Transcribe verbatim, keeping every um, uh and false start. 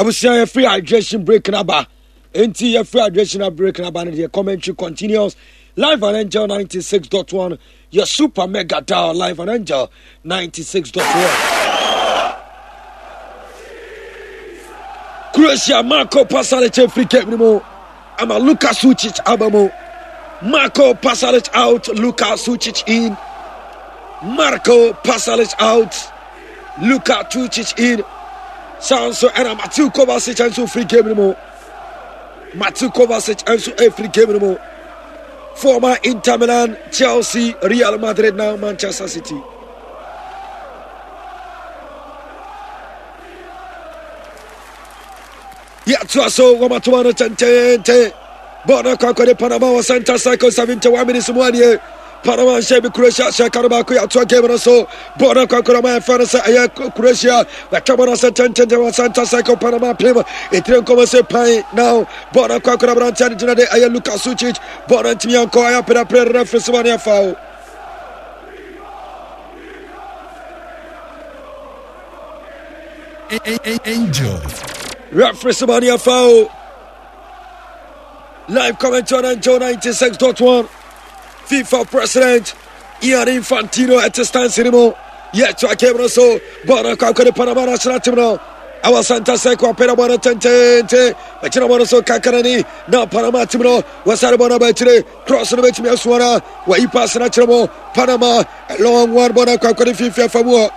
Abusua, yɛfiri hydration break naba. Enti yɛfiri hydration break naba no deɛ, commentary continues live on Angel ninety-six point one, your super mega dial, live on Angel ninety-six point one. Croatia, Marco Pasalic efiri game no mu ama Luka Sucic aba mu. Marco Pasalic out, Luka Sucic in. Marco Pasalic out, Luka Sucic in. Saa nso ɛna Mateo Kovacic nso firi game no mu. Mateo Kovacic nso efiri game no mu. Former Inter Milan, Chelsea, Real Madrid, now Manchester City. Yɛtoa so, wɔmatoma no tɛntɛntɛn. Bɔɔl no akɔ akɔde Panama wɔ center circle. seventy-one minutes mu adeɛ, Panama nhyɛ bi, Croatia hyɛ ka no baako. Yɛatoa game no so. Bɔɔl no akɔ akɔde ma yɛfɛ no sɛ ɛyɛ Croatia. Wɔatwa bɔɔl no sɛ tɛntɛntɛn wɔ center circle. Panama pem ɛtire nkɔmmɔ sɛ pan. Now bɔɔl no akɔ akɔde aberanteɛ no gyina de ɛyɛ Luka Sucic. Bɔɔl no ntumi ankɔ, ɛyɛ apɛdapɛ. Referee sɛ wɔne afa o. Angel. Referee sɛ wɔne afa o. Live commentary on Angel ninety-six point one. FIFA President Ian Infantino at the stands anymore. Yet to a game so bɔɔl akɔ akɔde Panama national team no ɛwɔ center circle. Apɛrɛ bɔɔl no tɛntɛntɛn, bɛkyerɛ bɔɔl no so kakarani na Panama team no wɔsare bɔɔl no abɛkyerɛ. Cross no bɛtumi asoa na wɔyi pass no akyerɛ mu. Panama, long one, bɔɔl no akɔ akɔde fifi afa mu hɔ.